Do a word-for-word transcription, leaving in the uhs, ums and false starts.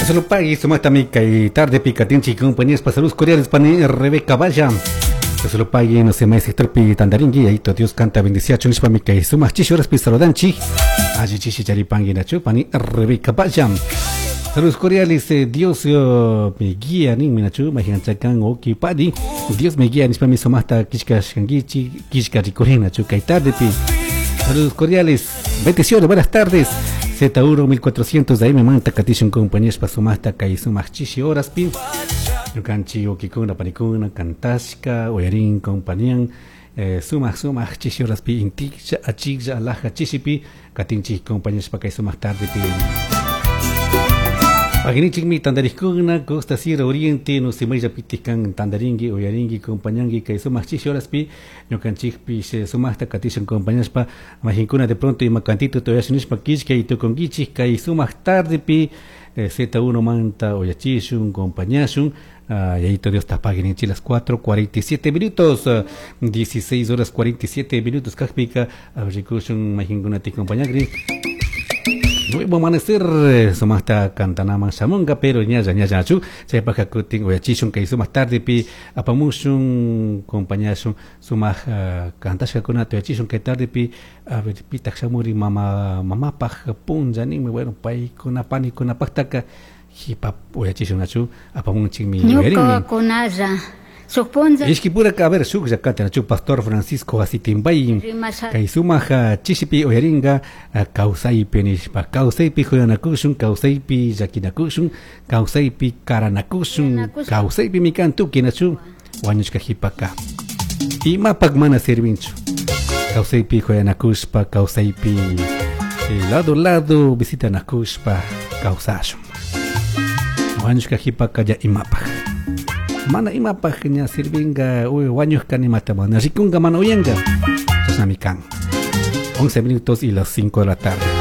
Solo pagui sumaqta kay tarde katinchik compañeros saludos cordiales pani Rebeca Valla. Solo pagui no se mai sector pi tandaringi ahí Dios canta bendiciacho nishpa mi kay sumaq chishi horas pi saludanchik. Alli chishi charipangui nachu pani Rebeca Valla. Saludos cordiales, eh, Dios uh, me guía nin minachu majianchakan oki padi. Dios me guía nishpa mi sumaqta kishka shangichi kishka rikurin nachu kay tarde pi. Saludos cordiales, bendiciones, buenas tardes. Z uno mil cuatrocientos de ahí me manta katishun compañeros pa sumaqta kay sumaq chishi horas pi. Ñukanchik ukikuna panikuna kantashka uyarin compañían eh, sumaq sumaq chishi horas pi intiklla achiklla alaja chishipi katinchik compañeros pa kay sumaq tarde pi. Paginichikmi tandarikuna Costa Sierra Oriente no se maylla pitikan tandaringi uyaringi compañangi kay sumaq chishi horas pi ñukanchikpi sumaqta katishun compañaspa majinkuna de pronto ima cantito toyashunispa kishka y tukunkichik kay sumaq tarde pi eh, Z uno manta uyachishun compañashun. Ah, y ahí todo Dios tapaguen las cuatro cuarenta y siete minutos, uh, dieciséis horas cuarenta y siete minutos, kajpika, abrikushun majinkuna ti compañagri. Nuevo amanecer, sumasta cantanama shamunga, pero ñalla ñalla chu, chaypaja kutin uyachishun kay sumaq tarde pi apamushun compañashun sumaq uh, kantashkakuna tuyachishun kay tarde pi a ver pitaq shamuri mama mamapaj punlla ninmi, bueno paykuna panikunapaqtaqa hipa uyachishun nachu apamunchikmi ñuka kunalla Suponza Ishkipura a ver shuklla kati pastor Francisco Asitimbay kay sumaq chishipi uyaringa kawsaypi nishpa kawsaypi huyanakushun kawsaypi llakinakushun kawsaypi karanakushun kawsaypi mikan tuki nachu wañushka hipaka imapak mana sirvinchu kawsaypi huyanakushpa kawsaypi lado lado visitanakushpa kawsashun wañushka hipaka ya imapak mana imapaq ña sirvinga uy wañushka nimata mana rikunga mana uyanka chashnami kan. once minutos y las cinco de la tarde.